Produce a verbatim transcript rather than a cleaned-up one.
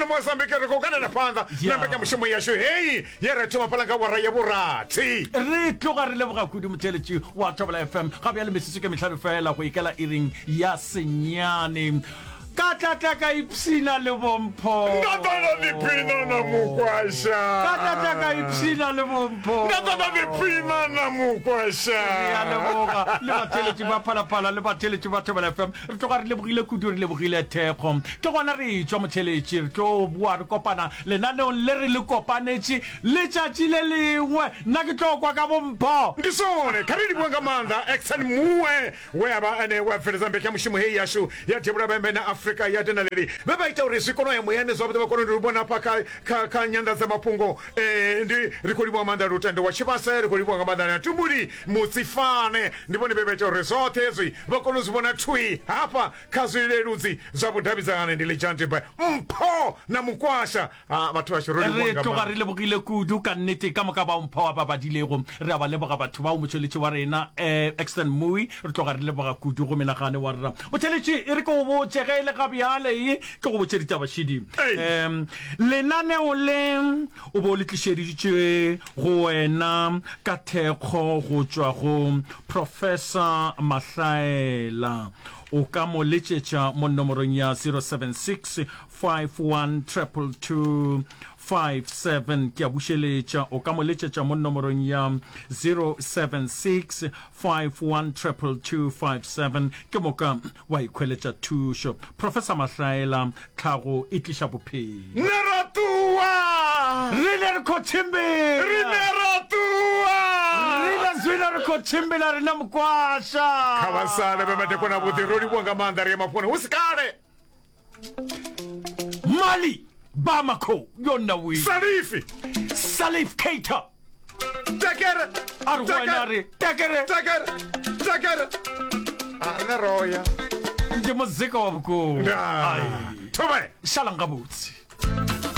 ngeno Mozambique ri khou kanela phanḓa na Yeah. mbekanyamushumo yashu heyi ye ra thoma fhaḽa nga awara ya vhurathi. Re tloga re leboga kudu motheeletši wa Thobela F M ga bjale metsotso ke mehlano fela go ikela iring ya senyane. Ka tla tla ka ipshina le bompho. Nda ḓa nda ḓiphina na mukwasha. Ka tla tla ka ipshina le bompho. Nda ḓa nda ḓiphina na mukwasha. Re a leboga le batheeletši ba Phalaphala le batheeletši ba Thobela F M. Re tloga re lebogile kudu, re lebogile thekgo. Ke gona re etšwa motheeletši, re tlo boa re kopana lenaneong le re le kopanetše letšatši le lengwe. Nna ke tlo kwa ka bompho. Ndi zwone, kha ri livhuwe nga maanḓa Exan Muwe we a vha ene we a bveledza mbekanyamushumo heyi yashu ya Devhula Vhembe na Afrika ya Dinaledi, vhe vha ita uri zwi kone u ya muyani zwavhuḓi, vha kone u ri vhona hafha kha, kha, kha nyanḓadzamafhungo. Eh, ndi ri khou livhuwa nga maanḓa Lutendo wa Tshivhase, ri khou livhuwa nga maanḓa na Tumbuli Mutsifane, ndi vhone vhe vha ita uri zwoṱhe hezwi vha kone u zwi vhona thwi hafha kha zwileludzi zwa vhudavhidzani. Ndi Lidzhanti Boy, Mpho na Mukwasha. Ah, vhathu vhashu ro livhuwa Re nga tloga maanḓa. re lebogile kudu ka nnete ka moka bao Mpho a ba badilego. Re a ba leboga batho bao, motšweletši wa rena eh, Exton Mui, re tloga re leboga kudu go menagane wa rena. Motšweletši, e re ke go botše ge e le ga bjale, e ke go botše ditaba šidi. Ei. Um, lenaneo le o bo le tlišeditšwe go wena ka thekgo go tšwa go Professor Mahlaela. O ka mo letšetša mo nomorong ya zero seven six five one triple two five seven. Ke a bušeletša, o ka mo letšetša mo nomorong ya zero seven six five one triple two five seven, ke moka wa ikhweletša thušo. Professor Mahlaela, tlhago e tliša bophelo. Ne ra ṱuwa. Rine re khou tshimbila. Rine ra ṱuwa. Rine zwino ri khou tshimbila rine mukwasha. Kha vha sale vhe madekwana avhuḓi, ro livhuwa nga maanḓa, ri ya mafhungoni hu si kale. Mali Bamako yona wi. Salifi. Salif Keita. Tekere. A re go wena a re tekere. Tekere. Tekere. A ne roya. Ndi muzika wa vhukuma. Ndaa. Thobela. Šalang gabotse.